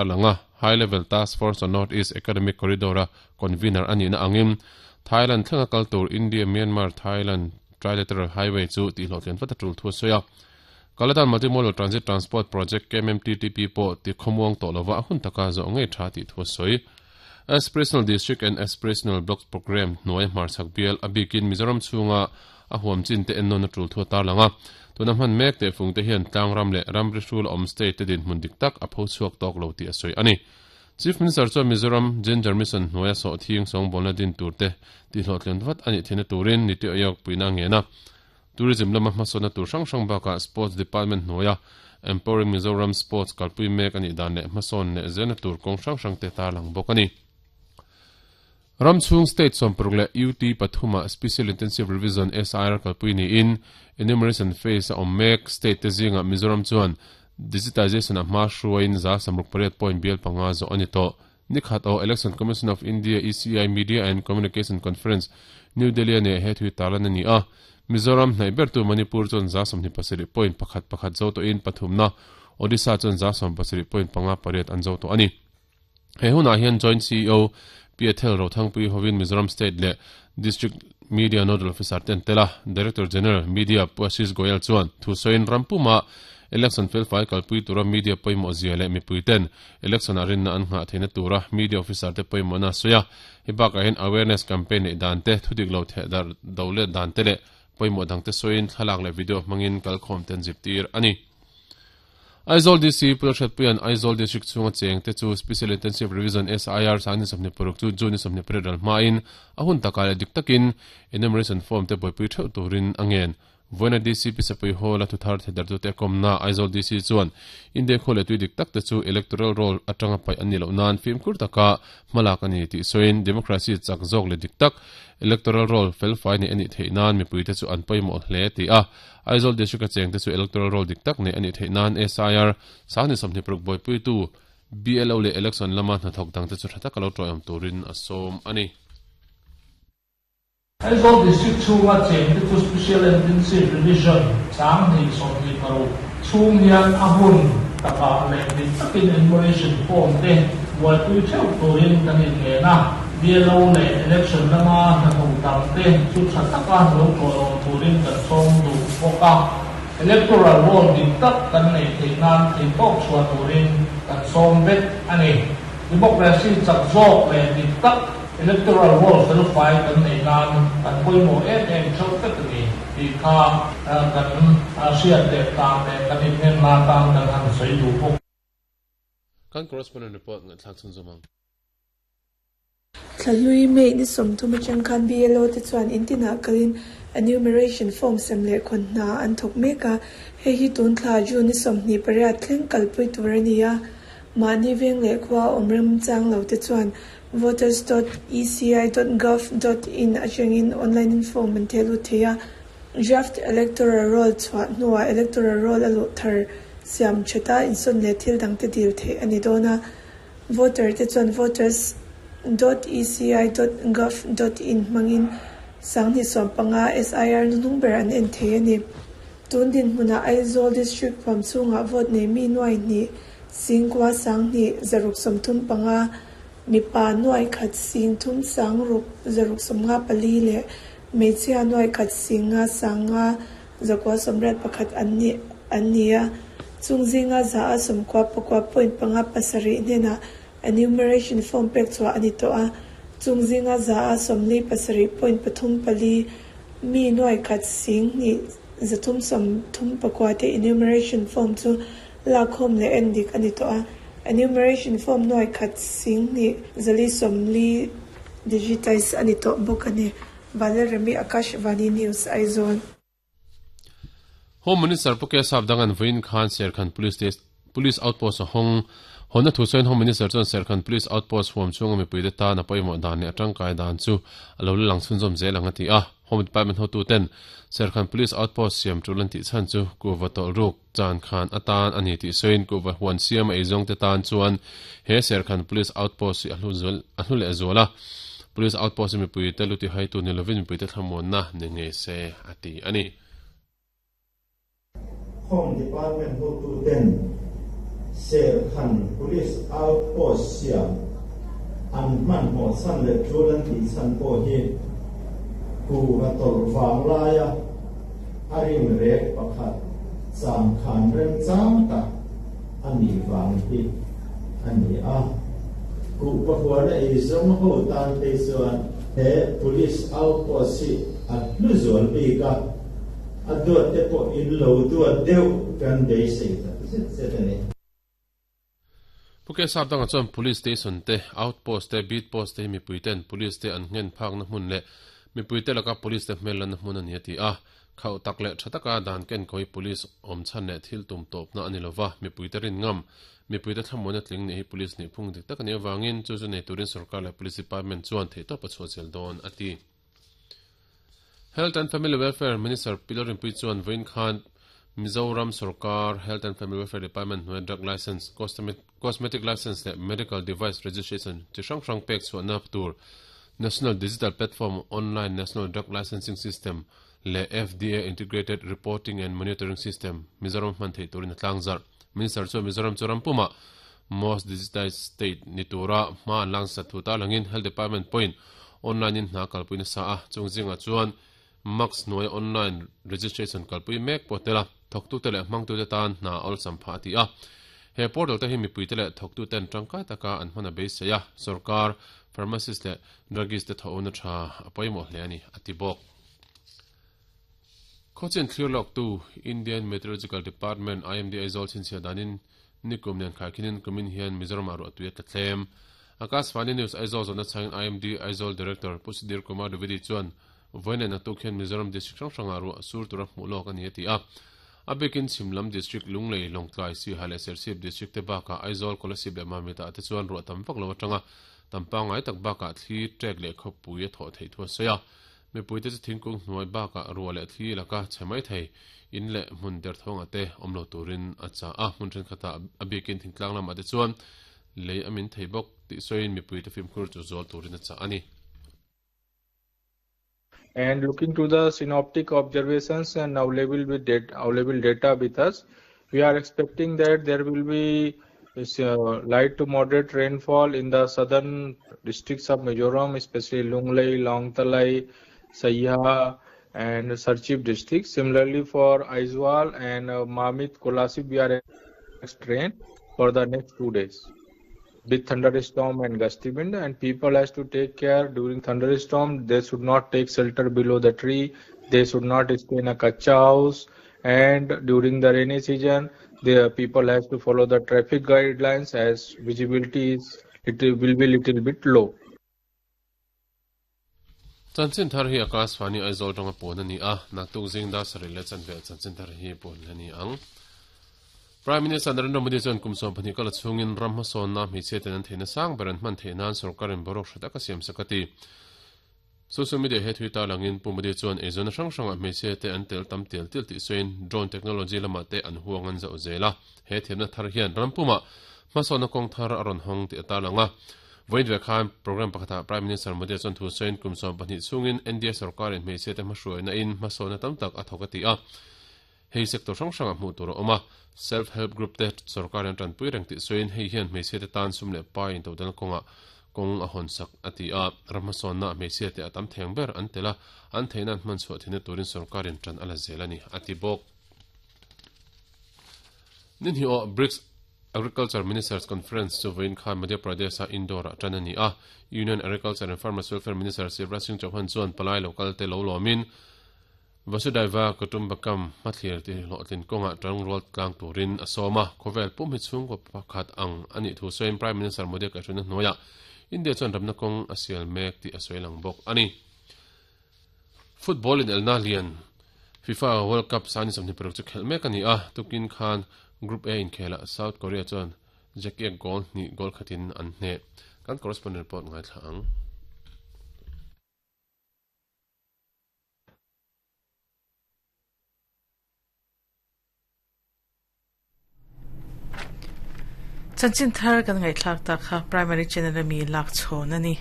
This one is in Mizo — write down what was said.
A lang a, High Level Task Force on North East Economic Corridor-a convener a nihna angin Thailand thlenga kal tur India-Myanmar-Thailand Trilateral Highway chu tihhlawhtlian vat a tul thu a sawi a. Kaladan Multimodal Transit Transport Project, KMMTTP, pawh ti khawmuang tawh lova a hun taka zawh ngei tha tih thu a sawi. Aspirational District and Aspirational Blocks Programme hnuai hmarchhak bial a bikin Mizoram chhunga a huam chin te ennawn a tul thu a tarlang a. Tuna hman mek tehfung te hian tlangram leh ramri hrul a awm state te dinhmun dik tak a pho chhuak tawk lo tih a sawi a ni. Chief Minister chuan Mizoram Ginger Mission hnuaia sawhthing sawngbawlna din tur te tihhlawhtlin vat a nih theihna turin Niti Aayog puihna a ngen a. Tourism lama hmasawnna tur hrang hrang bakah Sports Department hnuaia Empowering Mizoram Sports kalpui mek a nih dan leh hmasawn leh zelna tur kawng hrang hrang te tarlang bawk a ni. Ram chhung state 60 leh UT pathumah Special Intensive Revision, SIR, kalpui niin enumeration phase a awm mek. State te zingah Mizoram chuan digitization a hma hruaiin 68 point bial panga zawh a ni tawh. Ni khat aw Election Commission of India, ECI, Media and Communication Conference, New Delhi-a neih he thui tarlan a ni a. Mizoram hnaih bertu Manipur chuan 27 point pakhat pakhat zo tawhin pathumna Odisha chuan 17 point panga pariat an zo tawh a ni. He hunah hian Joint CEO Pi Ethel Rothangpui hovin Mizoram State leh District Media Nodal Officer te an tel a, Director General, Media, Pu Ashish Goyal chuan thusawiin ram puma election felfai kalpui tura media pawimawh zia leh mipui ten election-ah rinna an nghah theihna tura media officer te pawimawhna a sawi a. Hei bakah hian awareness campaign neih dan te, thudik lo theh darh do let dan te leh pawimawh dangte sawiin thlalak leh video hmangin kalkhawm te an zirtir a ni. Aizawl DC Pu Lalhriatpuia'n Aizawl District chhunga chengte chu Special Intensive Revision, SIR, sang ni 26 chu June ni 28 ral hmain a hun takah leh dik takin enumeration form te buaipui theuh turin a ngen. Vawiina DC Pi Sapui Hall-a thuthar theidartute a kawmna Aizawl DC chuan India khua leh tui dik tak te chu electoral roll atanga paih an nih loh nan fimkhur taka hmalak a ni tih sawiin democracy chak zawk leh dik tak electoral roll felfai neih a nih theih nan mipuite chu an pawimawh hle ti a. Aizawl District a chengte chu electoral roll dik tak neih a nih theih nan SIR sang ni 26 buaipuitu BLO leh election lama hnathawk dangte chu tha taka lo tawiawm turin a sawm a ni. Aizawl District chhunga chengte chu Special Intensive Revision 2026 chhung hian a hun takah leh dik takin enumeration form te buaipui theuh turin kan inngen a. BLO leh election lama hnathawk dangte chu tha taka lo tawlawm turin kan sawm duh bawk a, electoral roll dik tak kan neih theih nan theihtawp chhuah turin kan sawm vek a ni. Democracy chak zawk leh dik tak electoral roll felfai kan neih nan kan pawimawh em em theuh vek a ni tih kha kan hriat leh tan leh kan inhnenna atan kan han sawi duh bawk. Kan correspondent report ngaihthlak chhunzawm ang. Thlahlui May ni 30 atang khan BLO te chuan in tinah kalin enumeration form sem leh khawn hna an thawk mek a, hei hi tun thla June ni 28 thleng kalpui tur a ni a. Mahni veng leh khua awm remchang lo te chuan voters dot eci dot gov dot in atangin online in form an theh lut thei a. Draft Electoral Roll chhuah hnuah Electoral Roll a luh thar siam thata insawn leh thil dangte dil theih a ni dawn a. Voter te chuan voters dot eci dot gov dot in hmangin 2015 SIR hnuhnung ber an en thei a ni. Tun dinhmunah Aizawl District huam chhungah vote nei mi nuai hnih singkua 10 635, mipa nuai khat sing thum sang ruk zaruk sawmnga pali leh hmeichhia nuai khat sing nga sang nga 981 an ni an ni a. Chung zinga 99 point panga pasarih hnenah enumeration form pek chhuah a ni tawh a. Chung zinga 47 point pathum pali mi nuai khat sing hnih zathum sawmthum pakua te enumeration form chu lakkhawm leh en dik a ni tawh a. Enumeration form nuai khat sing hnih zali sawmli digitize a ni tawh bawk a ni. Vanlalremi Akashvani News, Aizawl. Home Minister Pu Keshav Dangan vawiin khan Serkhan Police Police Outpost a hawng. Hawnna thu sawiin Home Minister chuan Serkhan Police Outpost huam chhunga mipuite tan a pawimawh dan leh a tangkai dan chu a lo la lang chhunzawm zel ang a ti a. Home Department hotuten Serkhan Police Outpost siam tul an tih chhan chu kuhva tawlh ruk chan khan atan a ni tih sawiin kuhva huan siam a eizawngte tan chuan he Serkhan Police Outpost hi a hlu zual a hlu leh zual a. Police Outpost hi mipuite lu tihaitu ni lovin mipuite thlamuanna ni ngei se a ti a ni. Home Department hotuten Serkhan Police Outpost siam an hmanhmawh chhan leh tul an tih chhan pawh hi kuhva tawlh vanglaia a rim rek pakhat changkhan remchang tak a nih vang hi a ni a. Kuhva huana eizawng ho tan phei chuan he Police Outpost hi a hlu zual bik a, a duat te pawh in lo duat deuh kan beisei tak zet zet a ni. Pu Kesap dangah chuan Police Station te, Outpost te, Beat Post te hi mipui ten Police te an nghen phakna hmun leh mipui te laka Police te hmel lanna hmun a ni a ti a. Khauh tak leh tha taka dan kenkawi Police awm chhan leh thil tum tawpna a ni lova, mipui te rin ngam, mipui te thlamuana tling nih hi Police nih phung dik tak a nih avangin chu chu nei turin Sorkar leh Police Department chuan theihtawp a chhuah zel dawn a ti. Health and Family Welfare Minister Pi Lalrinpuii chuan vawiin khan Mizoram sorkar Health and Family Welfare Department hnuaia drug license, cosmetic license leh medical device registration chi hrang hrang pek chhuahna tur National Digital Platform Online National Drug Licensing System leh FDA Integrated Reporting and Monitoring System Mizoram hman theih turin a tlangzarh. Minister chuan Mizoram chu ram pumah most digitized state ni tura hma an langsat thu tarlangin Health Department pawhin online in hna kalpui nasa a, chung zingah chuan Max hnuaia online registration kalpui mek pawh tel a, thawktute leh hmangtute tan hna a awlsam phah a ti a. He portal te hi mipuite leh thawktuten tangkai taka an hman a beisei a, sorkar, pharmacist leh druggist te thawhna tha a pawimawh hle a ni, a ti bawk. Khawchin thlir lawktu Indian Meteorological Department, IMD, Aizawl chhinchhiah danin nikum nen khaikhin kumin hian Mizoramah ruahtui a tla tlem. Akashvani News Aizawl zawhna chhangin IMD Aizawl Director Pu Sudhir Kumar Dwivedi chuan vawiin leh naktuk hian Mizoram District hrang hrangah ruah sur tura hmuh lawk a ni a ti a. A bikin chhim lam District Lunglei, Lawngtlai, Siha leh Serchhip District te bakah Aizawl, Kolasib leh Mamita te chuan ruah tam vak lo atanga tam pangngai tak bakah thli, trek leh khawpui a thawh theih thu a sawi a. Mipuite chu thingkung hnuai bakah ruah leh thli laka chhe mai thei, in leh hmun derthawngah te awm lo turin a chah a. Hmun thenkhatah a biakin thingtlang lamah te chuan lei a min thei bawk tih sawiin mipuite fimkhur chu zual turin a chah a ni. And looking to the synoptic observations and available with data, available data with us, we are expecting that there will be light to moderate rainfall in the southern districts of Mizoram, especially Lunglei, Lawngtlai, Saiha, and Serchhip districts. Similarly, for Aizawl and Mamit, Kolasib, we are expecting rain for the next 2 days with thunderstorm and gusty wind, and people has to take care during thunderstorm. They should not take shelter below the tree. They should not stay in a kacha house. And during the rainy season, the people has to follow the traffic guidelines as visibility is it will be little bit low. Chanchin thar hi Akashvani Aizawl tanga puan a ni a, naktuk zing dar sarih leh chanve chanchin thar hi puan a ni ang. Prime Minister Narendra Modi chuan kum 12 kala chhungin ram hmasawnna hmeichhia ten an theihna sang ber an hman theih nan sorkarin boruak hre tak a siam sak a ti. Social media he thui tarlangin Pu Modi chuan eizawnna hrang hrangah hmeichhia te an tel tam tial tial tih sawiin drone technology lamah te an huang an zauh zel a, he thiamna thar hian ram pumah hmasawnna kawng thar a rawn hawng tih a tarlang a. Vawiin ve khan programme pakhatah Prime Minister Modi chuan thu sawiin kum 12 chhungin NDA sorkarin hmeichhia te hmahruaina in hmasawnna tam tak a thawk a ti a. Hei sector hrang hrangah hmuh tur a awm a, Self Help Group te sorkarin an tanpui reng tih sawiin hei hian hmeichhia te tan sum leh pai intodelna kawngah kawng a hawn sak a ti a. Ram hmasawnna ah hmeichhia te a tam theng ber an tel a, an theihna an hman chhuah theihna turin sorkarin tan a la zel a ni, a ti bawk. Ninhniawh BRICS Agriculture Ministers Conference chu vawiin khan Madhya Pradesh-a Indore-ah tan a ni a. Union Agriculture and Farmers Welfare Minister Shivraj Singh Chauhan chuan palai lokal te lo lawmin Vasudhaiva Kutumbakam hmathlir ti hlawhtlin kawngah tangrual tlang turin a sawm a. Khawvel pum hi chhungkaw pakhat ang a nih thu sawiin Prime Minister Modi a kaihhruaina hnuaiah India chuan ramna kawng a sial mek tih a sawi lang bawk a ni. Football inelna lian FIFA World Cup sani 26 chu khelh mek a ni a, tukin khan Group A inkhelah South Korea chuan Jackie goal hnih goal khatin an hneh. Kan correspondent report ngaithla ang. Chanchin thar kan ngaihthlak tak kha Primary Channel ami lak chhawn a ni.